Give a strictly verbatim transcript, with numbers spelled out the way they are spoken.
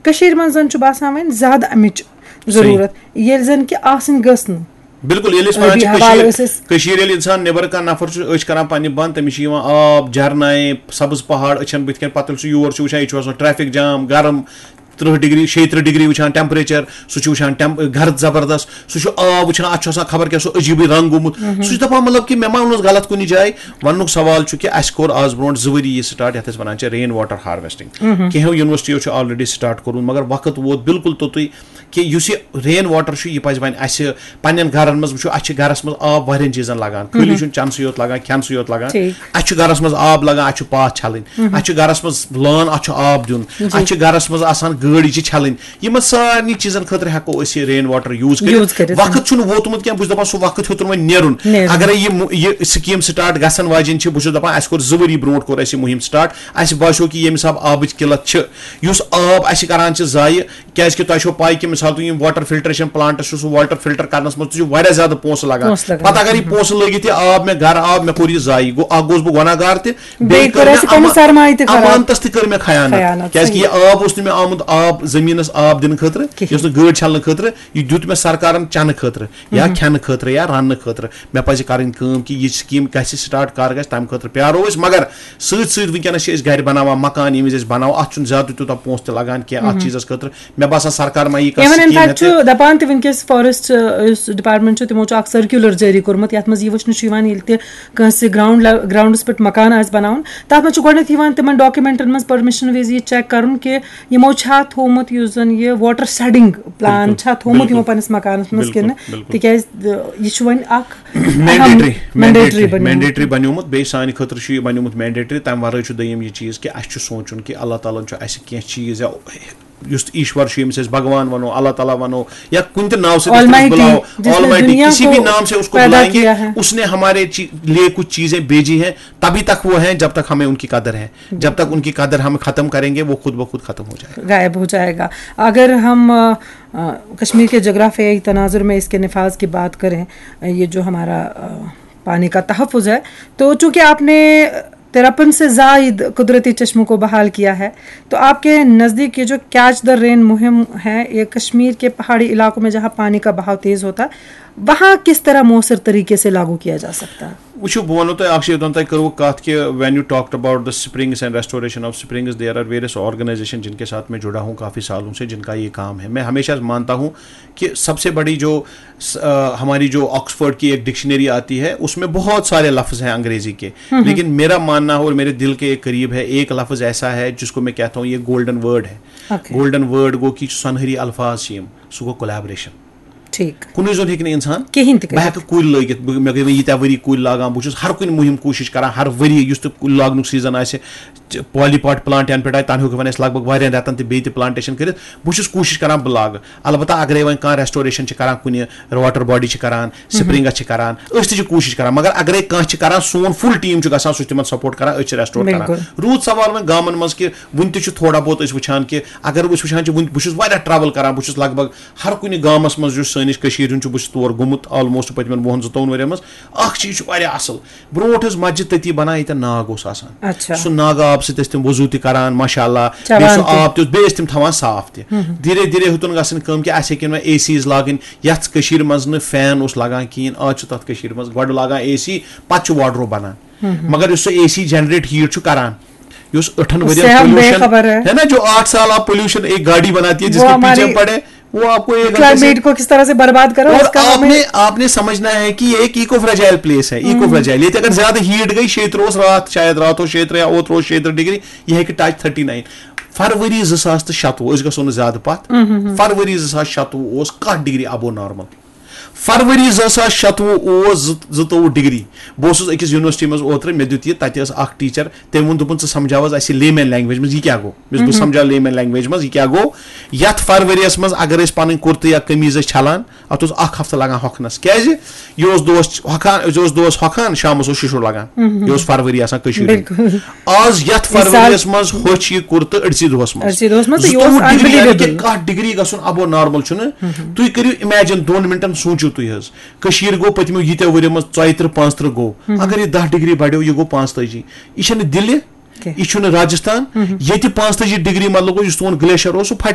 کٔشیٖرِ منٛز زَن چھُ باسان وۄنۍ زیادٕ اَمِچ ضروٗرت، ییٚلہِ زَن کہِ آسٕنۍ گٔژھ نہٕ۔ بِلکُل، ییٚلہِ أسۍ وَنان ٲبی چھِ حوالہٕ کٔشیٖر، ٲسۍ أسۍ۔ کٔشیٖر ییٚلہِ اِنسان نٮ۪بر کانٛہہ نفر چھُ أچھ کران پننہِ بنٛد، تٔمِس چھِ یِوان آب، جھرنہٕ، سبٕز پہاڑ أچھن بٕتھِ کَنۍ۔ پَتہٕ ییٚلہِ سُہ یور چھُ وٕچھان، ییٚتہِ چھُ آسان ٹریفک جام، گرم، تٕرٛہ ڈگری، شیٚیہِ تٕرٛہ ڈگری وٕچھان ٹیمپریچر، سُہ چھُ وٕچھان ٹیمپ-، گرد زبردست، سُہ چھُ آب وٕچھان، اَتھ چھُ آسان خبر کیٛاہ سُہ عجیٖبٕے رنٛگ گوٚمُت۔ سُہ چھُ دَپان، مطلب، کہِ مےٚ ما اوٚنُس غلط کُنہِ جایہِ؟ وَننُک سوال چھُ کہِ اَسہِ کوٚر آز برونٛٹھ زٕ ؤری یہِ سٹارٹ، یَتھ أسۍ وَنان چھِ رین واٹر ہارویسٹنگ۔ کینٛہو یونیورسٹیو چھُ آلریڈی سٹارٹ کوٚرمُت، مگر وقت ووت بِلکُل توٚتُے کہِ یُس یہِ رین واٹر چھُ، یہِ پَزِ وۄنۍ اَسہِ پننٮ۪ن گرن منٛز وٕچھو۔ اَسہِ چھِ گرس منٛز آب واریاہن چیٖزن لگان، خٲلی چھُنہٕ چٮ۪نہٕ سٕے یوت لگان، کھٮ۪نہٕ سٕے یوت لگان۔ ٹھیٖک۔ اَسہِ چھُ گرس منٛز آب لگان، اَسہِ چھُ پاتھ چھلٕنۍ، اَسہِ چھُ گرس منٛز لٲن، اَتھ چھُ آب دیُن، اَسہِ چھُ گرس منٛز آسان گٲڑۍ، یہِ چھِ چھلٕنۍ۔ یِمن سارنٕے چیٖزن خٲطرٕ ہٮ۪کو أسۍ یہِ رین واٹر یوٗز کٔرِتھ۔ یوٗز کٔرِتھ۔ وقت چھُنہٕ ووتمُت کینٛہہ، بہٕ چھُس دَپان سُہ وقت ہیوٚتُن وۄنۍ نیرُن۔ نیرُن۔ اگرے یہِ مُ-، یہِ سکیٖم سٹارٹ گژھن واجیٚنۍ چھِ، بہٕ چھُس دَپان اَسہِ کوٚر زٕ ؤری برونٛٹھ کوٚر اَسہِ یہِ مُہِم سٹارٹ، اَسہِ باسیو کہِ ییٚمہِ حساب آبٕچ قلت چھِ، یُس آب اَسہِ کران چھِ ضایہِ، کیازِ کہِ تۄہہِ چھو پاے کہِ مثال تُہۍ یِم واٹر فلٹریشن پلانٹس چھِ، سُہ واٹر فلٹر کرنس منٛز تہِ چھُ واریاہ زیادٕ پونٛسہٕ لگان۔ پونٛسہٕ لگان۔ پتہٕ اگر یہِ پونٛسہٕ لٲگِتھ یہِ آب مےٚ گرٕ آو، مےٚ کوٚر یہِ ضایہِ، گوٚو اکھ گوٚوس بہٕ گۄناہ گار تہِ، بیٚیہِ کوٚر مےٚ اَسہِ پنُن اما-، سرمایہِ تہِ خراب۔ امانتس تہِ کٔر مےٚ خیانت، خیانت، کیازِ کہِ صحیح۔ یہِ آب اوس نہٕ مےٚ آمُت آب زٔمیٖنس آب دِنہٕ خٲطرٕ، کِہیٖنۍ۔ یہِ اوس نہٕ گٲڑۍ چھلنہٕ خٲطرٕ، یہِ دیُت مےٚ سرکارن چنہٕ خٲطرٕ یا کھٮ۪نہٕ خٲطرٕ یا رننہٕ خٲطرٕ۔ مےٚ پزِ کرٕنۍ کٲم کہِ یہِ سکیٖم گژھِ سٹارٹ، کر گژھِ، تمہِ خٲطرٕ پیارو أسۍ۔ مگر سۭتۍ سۭتۍ وٕنکیٚنس چھِ أسۍ گرِ بناوان مکان، ییٚمہِ وِزِ أسۍ بناوو، اتھ چھُنہٕ زیادٕ تیوٗتاہ پونٛسہٕ تہِ لگان کینٛہہ اتھ چیٖزس خٲطرٕ۔ مےٚ باسان سرکار ما یی کانٛہہ ایون ان سکیٖم فیکٹ ہٮ۪تھ۔ چھُ دپان تہِ وٕنکیٚس فارسٹ یُس ڈپارٹمنٹ چھُ، تِمو چھُ اکھ سرکیولر جٲری کوٚرمُت، یتھ منٛز یہِ وٕچھنہٕ چھُ یِوان، ییٚلہِ تہِ کٲنٛسہِ گراؤنڈ گراؤنڈس پٮ۪ٹھ مکان آسہِ بناوُن، تتھ منٛز چھُ گۄڈٕنیتھ یِوان تِمن ڈاکیومنٹن منٛز پرمشن وِزِ یہِ چیک کرُن کہِ یِمو چھا تھوومُت یُس زن یہِ واٹر شیڈنگ پلان بِلکُل، چھا تھوومُت بِلکُل، یِمو پننِس مکانس منٛز بِلکُل، کِنہٕ، بِلکُل۔ تِکیازِ یہِ چھُ وۄنۍ اکھ مینڈیٹری، مینڈیٹری مینڈیٹری بنیومُت، بیٚیہِ سانہِ خٲطرٕ چھُ یہِ بنیومُت مینڈیٹری۔ تمہِ ورٲے چھُ دوٚیِم یہِ چیٖز کہِ اَسہِ چھُ سونٛچُن کہِ اللہ تعالیٰ ہن چھُ اَسہِ کینٛہہ چیٖز یا یُس تہِ ایشور چھُ، ییٚمِس أسۍ بھگوان وَنو، اللہ تعالیٰ وَنو، یا کُنہِ تہِ ناوٕ سۭتۍ أسۍ تٔمِس Almighty، بُلاوو، جس نے Almighty، دنیا کسی کو بھی نام سے اس کو پیدا بلائیں گے، کیا ہے۔ اس نے ہمارے چی-، لیے کچھ چیزیں بھیجی ہیں، تبھی تک وہ ہیں جب تک ہمیں ان کی قدر ہے، جب تک ان کی قدر ہم ختم کریں گے، وہ خود بخود ختم ہو جائے گا۔ غائب ہو جائے گا۔ اگر ہم آ، آ، کشمیر کے جغرافیائی تناظر میں اس کے نفاذ کی بات کریں، یہ جو ہمارا آ، پانی کا تحفظ ہے، تو چونکہ آپ نے ترپن سے زائد قدرتی چشموں کو بحال کیا ہے، تو آپ کے نزدیک یہ جو کیچ دا رین مہم ہے، یہ کشمیر کے پہاڑی علاقوں میں جہاں پانی کا بہاؤ تیز ہوتا ہے، وہاں کس طرح مؤثر طریقے سے لاگو کیا جا سکتا ہے؟ وٕچھِو، بہٕ وَنو تۄہہِ اَکھ چیٖز، یوٚتام تۄہہِ کٔروٕ کَتھ کہِ when you talked about the springs and restoration of springs, there are various organization جن کے ساتھ میں جڑا ہوں کافی سالوں سے، جن کا یہ کام ہے۔ میں ہمیشہ مانتا ہوں کہ سب سے بڑی جو س-، آ، ہماری جو آکسفورڈ کی ایک ڈکشنری آتی ہے، اس میں بہت سارے لفظ ہیں انگریزی کے، لیکن میرا ماننا اور میرے دل کے قریب ہے، ایک لفظ ایسا ہے جس کو میں کہتا ہوں یہ گولڈن ورڈ ہے۔ اوکے۔ گولڈن ورڈ گوٚو کہِ یُس سۄنہری الفاظ چھِ یِم، سُہ گوٚو کولابریشن۔ ٹھیٖک۔ کُنُے زوٚن ہیٚکہِ نہٕ اِنسان۔ کِہیٖنۍ تہِ بہٕ کٔرِتھ۔ ہیٚکہٕ کُلۍ لٲگِتھ، بہٕ، مےٚ گٔے وۄنۍ ییٖتیٛاہ ؤری کُلۍ لاگان، بہٕ چھُس ہر کُنہِ مُہِم کوٗشِش کران، ہر ؤری یُس تہِ کُلۍ لاگنُک سیٖزن آسہِ، چ-، پالی پاٹ پلانٹ ینہٕ پٮ۪ٹھ آیہِ، تَنہٕ ہیوٚک وۄنۍ اَسہِ لگ بگ واریاہن رٮ۪تن تہِ بیٚیہِ تہِ پلانٹیشن کٔرِتھ۔ بہٕ چھُس کوٗشِش کران بہٕ لاگہٕ، البتہ اگرے وۄنۍ کانٛہہ ریسٹوریشن چھِ کران کُنہِ، واٹر باڈی چھِ کران، سپرنگس چھِ کران، أسۍ تہِ چھِ کوٗشِش کران، مگر اگرے کانٛہہ چھِ کران، سون فُل ٹیٖم چھُ گژھان، سُہ چھُ تِمن سپورٹ کران، أسۍ چھِ ریسٹور کران۔ بِلکُل۔ روٗد سوال وۄنۍ گامن منٛز کہِ وُنہِ تہِ چھُ تھوڑا بہت أسۍ وٕچھان کہِ اگر أسۍ وٕچھان چھِ وُنہِ، بہٕ چھُس واریاہ ٹریول کران، بہٕ چھُس لگ بگ ہر کُنہِ گامس منٛز یُس سٲنِس کٔشیٖرِ ہُنٛد چھُ، بہٕ چھُس تور گوٚمُت آلموسٹ پٔتمٮ۪ن وُہن زٕتووُہن ؤرین منٛز۔ اکھ چیٖز چھُ واریاہ اصل، برونٛٹھ ٲس مسجد تٔتی بنان ییٚتٮ۪ن ناگ اوس آسان۔ اچھا۔ سُہ ناگہٕ آب سۭتۍ ٲسۍ تِم وضوٗ تہِ کران، ماشاء اللہ، چٮ۪وان بیٚیہِ سُہ تہِ۔ آب تہِ اوس، بیٚیہِ ٲسۍ تِم تھاوان صاف تہِ۔ دھیرے دھیرے ہیوٚتُن گژھٕنۍ کٲم کہِ اَسہِ ہیٚکن وۄنۍ اے سیٖز لاگٕنۍ، یتھ کٔشیٖرِ منٛز نہٕ فین اوس لگان کِہیٖنۍ، آز چھُ تتھ کٔشیٖرِ منٛز گۄڈٕ لاگان اے سی، پتہٕ چھُ واڈروب بنان۔ مگر یُس سُہ اے سی جنریٹ ہیٖٹ چھُ کران، یُس ٲٹھن اس ؤرین سے ہم بے پولوشن خبر ہے۔ ہے نا، جو آٹھ سال آپ پولوشن ایک گاڑی بناتی ہے جس وہ کے پیچھے ہماری ہم پڑے، وہ آپ کو ایک گھنٹے سے کلائمیٹ کو کس طرح سے برباد کرو، اور اس کا آپ ہمیں نے آپ نے سمجھنا ہے کہ یہ ایک ایکو فریجائل پلیس ہے، ایکو فریجائل۔ یہ اگر زیادہ ہیٹ گئی، شیتر اوس راتھ، شاید راتھ اوس شیتر یا اوترٕ اوس شیتر ڈگری، یہ ہیٚکہِ ٹچ تھرٹی نائن۔ فروری زٕ ساس تہٕ شتوُہ، أسۍ گژھو نہٕ زیادٕ پتھ۔ فروری زٕ ساس شتوُہ اوس کاہ ڈگری ابو نارمل۔ فروری زٕ ساس شتوُہ اوس زٕ-، زٕتووُہ ڈگری۔ بہٕ اوسُس أکِس یونیورسٹی منٛز اوترٕ، مےٚ دیُت یہِ، تَتہِ ٲس اکھ ٹیٖچر، تٔمۍ ووٚن، دوٚپُن، "ژٕ سمجھاو حظ اَسہِ لیمین لینگویج منٛز یہِ کیٛاہ گوٚو؟" مےٚ دوٚپُس، "بہٕ سمجھاو لیمین لینگویج منٛز یہِ کیٛاہ گوٚو؟" یَتھ فرؤریَس منٛز اگر أسۍ پَنٕنۍ کُرتہٕ یا قمیٖض ٲسۍ چھَلان، اَتھ اوس اکھ ہفتہٕ لگان ہۄکھنَس۔ کیٛازِ؟ یہِ اوس دۄہَس ہۄکھان، یہِ اوس دۄہَس ہۄکھان، شامَس اوس شِشُر لگان۔ یہِ اوس فرؤری آسان کٔشیٖرِ ہُنٛد۔ بِلکُل۔ آز یَتھ فرؤریَس منٛز ہوٚچھ یہِ کُرتہٕ أڑسٕے دۄہَس منٛز۔ أڑسٕے دۄہَس منٛز، تہٕ یہِ اوس زٕتووُہ ڈگری، یعنی کہِ unbelievable۔ کاہ ڈگری گژھُن ابو نارمل چھُنہٕ۔ تُہۍ کٔرِو اِمیجِن، دۄن مِنٹَن سوٗنٛچِو تُہۍ حظ۔ کٔشیٖرِ گوٚو پٔتمیو ییٖتیو ؤریو منٛز ژۄیہِ تٕرٛہ پانٛژھ تٕرٛہ گوٚو۔ اگر یہِ دَہ ڈگری بڑیو، یہِ گوٚو پانٛژتٲجی۔ یہِ چھَنہٕ دِلہِ، کینٛہہ۔ یہِ چھُنہٕ راجستھان۔ ییٚتہِ پانٛژتٲجی ڈگری مطلب گوٚو، یُس تُہُنٛد گلیشر اوس، سُہ پھٹہِ۔